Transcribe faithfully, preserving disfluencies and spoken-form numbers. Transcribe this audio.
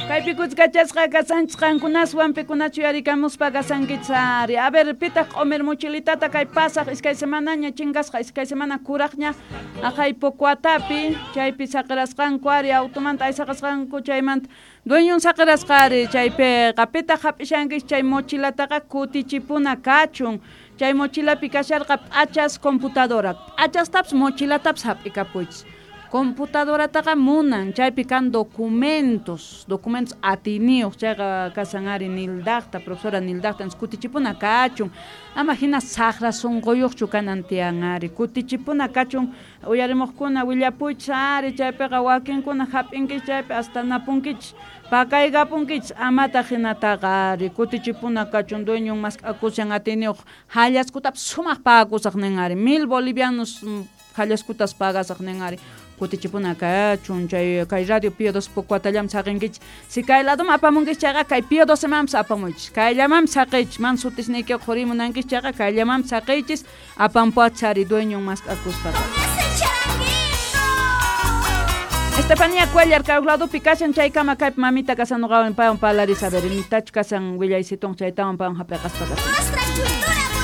Kaypi kuskachasqa kasanchis qankunaswan pikunachu yarikamuspa kasankichis ari. A ver, pitaq q'umir mochilitata kay pasaq iskay semanaña chinkasqa iskay semana kuraqña aqhay Pocuatapi chaypi saqirasqanku ari automanta aysaqasqanku chaymanta dueñon saqirasqa ari chaypiqa pitaq hap'ishankichis chay mochilataqa kutichipuna kachun. Chay mochilapi kasharqa p'achas computadora p'achastapis mochilatapis hap'ikapuychis. Computadorataqa munan chaypi kan documentos documentos atiniyuq chayqa kasan ari Nildaqta profesora Nildaqta kutichipuna kachun ama hina saqra sunquyuqchu kanan tiyan ari kutichipuna kachun uyarimuqkuna willapuychis ari chaypiqa wakinkuna hap'inkichis chaypi hasta napunkichis pakaykapunkichis amataq hinataqa ari kutichipuna kachun dueñon mask'akushan atiniyuq hallaskutapis sumaq pagakusaq nin ari mil bolivianos hallaskutas pagasaq nin ari kutichipuna kachun chay kay radio Pío doce Pocuatallam saqinkichis si kay ladoman apamunkichis chayqa kay Pío docemanpis apamuychis kayllamanpis saqiychis man sutisniykiqa qhurimunankichis chayqa kayllamanpis saqiychis apampuachis ari dueñon mask'akuspa. Estefanía Cuellar kay ladopi kashan chaykama kaypi mamita kasan nuqawan paywan parlaris a ver imitachu kasan willaysiton chaytawan paywan hap'iqaspa kasan.